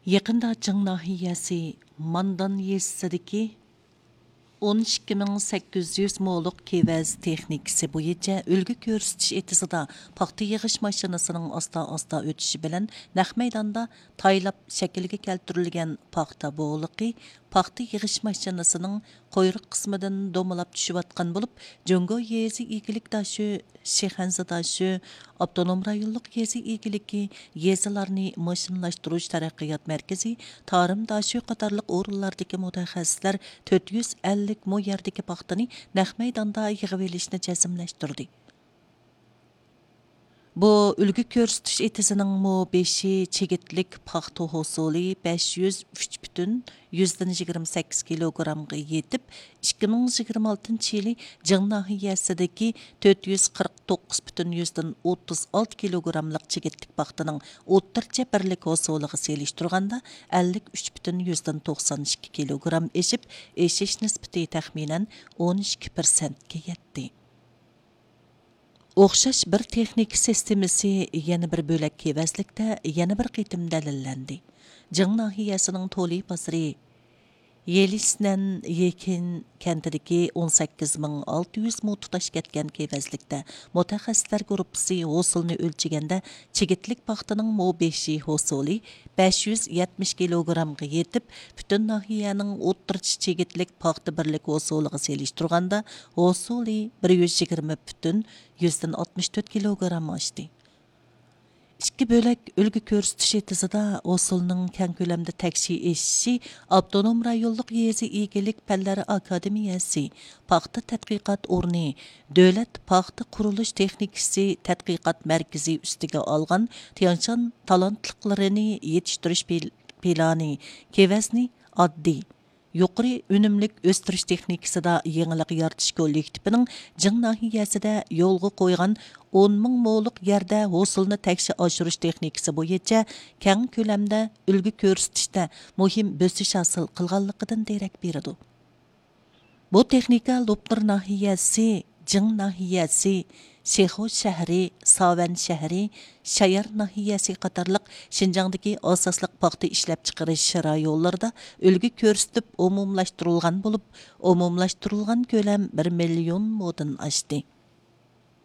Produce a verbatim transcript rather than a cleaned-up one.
يېقىندا جىڭ ناھىيەسى ماندان يېزىسىدىكى ئون ئىككى مىڭ سەككىز يۈز مولۇق كېۋەز تېخنىكىسى بويىچە ئۈلگە كۆرسىتىش ئېتىزىدا پاختا يىغىش ماشىنىسىنىڭ ئاستا-ئاستا ئۆتۈشى بىلەن نەق مەيداندا تايلاپ شەكىلگە كەلتۈرۈلگەن پاختا بولىقى پاختا يىغىش ماشىنىسىنىڭ قۇيرۇق قىسمىدىن دومىلاپ چۈشۈۋاتقان بولۇپ، جۇڭگو يېزا ئىگىلىك داشۆ، شىخەنزە داشۆ، ئاپتونوم رايونلۇق يېزا ئىگىلىكى، يېزىلارنى ماشىنىلاشتۇرۇش تەرەققىيات مەركىزى، تارىم داشۆ قاتارلىق ئورۇنلاردىكى مۇتەخەسسىسلەر تۆت يۈز ئەللىك مو يەردىكى پاختىنى نەق مەيداندا يىغىۋېلىشنى جەزملەشتۈردى. بۇ ئۈلگە كۆرسىتىش ئېتىزىنىڭ مو بېشى چىگىتلىك پاختا ھوسۇلى بەش يۈز ئۈچ پۈتۈن يۈزدىن يىگىرمە سەككىز كىلوگرامغا يېتىپ، ئىككى مىڭ يىگىرمە ئالتىنچى يىلى جىڭ ناھىيەسىدىكى تۆت يۈز قىرىق توققۇز پۈتۈن يۈزدىن ئوتتۇز ئالتە كىلوگراملىق چىگىتلىك پاختىنىڭ ئوتتۇرىچە بىرلىك ھوسۇلىغا سېلىشتۇرغاندا ئەللىك ئۈچ پۈتۈن يۈزدىن توقسان ئىككى كىلوگرام ئېشىپ، ئېشىش نىسبىتى تەخمىنەن ئون ئىككى پىرسەنتكە يەتتى. ئوخشاش بىر تېخنىكا سىستېمىسى يەنە بىر بۆلەك كېۋەزلىكتە يەنە بىر قېتىم دەلىللەندى. جىڭ ناھىيەسىنىڭ تولى بازىرى يېلىسنەن يېكىن كەنتىدىكى ئون سەككىز مىڭ ئالتە يۈز مو تۇتاش كەتكەن كېۋەزلىكتە مۇتەخەسسىسلەر گۇرۇپپىسى ھوسۇلنى ئۆلچىگەندە، چىگىتلىك پاختىنىڭ مو بېشى ھوسۇلى بەش يۈز يەتمىش كىلوگرامغا يېتىپ، پۈتۈن ناھىيەنىڭ ئوتتۇرىچە چىگىتلىك پاختا بىرلىك ھوسۇلىغا سېلىشتۇرغاندا، ھوسۇلى بىر يۈز يىگىرمە پۈتۈن يۈزدىن ئاتمىش تۆت كىلوگرام ئاشتى. ئىككى بۆلەك ئۈلگە كۆرسىتىش ئېتىزىدا ھوسۇلنىڭ كەڭ كۆلەمدە تەكشى ئېشىشى ئاپتونوم رايونلۇق يېزا ئىگىلىك پەنلەر ئاكادېمىيەسى، پاختا تەتقىقات ئورنى، دۆلەت پاختا قۇرۇلۇش تېخنىكىسى تەتقىقات مەركىزى ئۈستىگە ئالغان تيەنشان تالانتلىقلىرىنى يېتىشتۈرۈش پىل-، پىلانى، كېۋەزنى ئاددىي، يۇقىرى ئۈنۈملۈك ئۆستۈرۈش تېخنىكىسىدا يېڭىلىق يارىتىش كوللېكتىپىنىڭ جىڭ ناھىيەسىدە يولغا قويغان ئون مىڭ مولۇق يەردە ھوسۇلنى تەكشى ئاشۇرۇش تېخنىكىسى بويىچە كەڭ كۆلەمدە ئۈلگە كۆرسىتىشتە مۇھىم بۆسۈش ھاسىل قىلغانلىقىدىن دېرەك بېرىدۇ. بۇ تېخنىكا لوپنۇر ناھىيەسى، جىڭ ناھىيەسى، شىخۇ شەھىرى، ساۋەن شەھىرى، شايار ناھىيەسى قاتارلىق شىنجاڭدىكى ئاساسلىق پاختا ئىشلەپچىقىرىش رايونلىرىدا ئۈلگە كۆرسىتىپ ئومۇملاشتۇرۇلغان بولۇپ، ئومۇملاشتۇرۇلغان كۆلەم بىر مىليون مودىن ئاشتى.